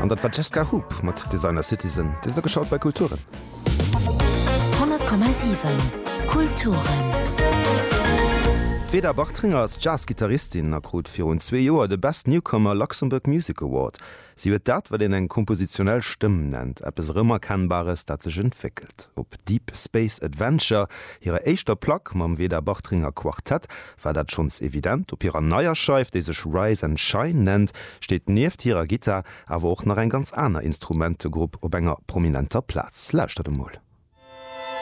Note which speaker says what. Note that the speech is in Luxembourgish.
Speaker 1: An dat war d'Jesca Hoop mat Designer Citizen. Dir sidd ageschalt bei Kulturen.
Speaker 2: 100,7 Kulturen.
Speaker 1: D'Veda Bartringer ass Jazz-Gittaristin a krut virun zwee Joer de Best Newcomer Luxembourg Music Award. Si huet dat, wat een eng kompositionell Stëmm nennt, eppes Erëmerkennbares, dat sech entwéckelt. Op Deep Space Adventure, hirer éischter Plack mam Veda Bartringer Quartett, war dat schonns evident. Op hirer neier Scheif, déi sech Rise and Shine nennt, steet nieft hirer Gittar awer och nach eng ganz aner Instrumentegrupp op enger prominenter Plaz. Lauschtert emol.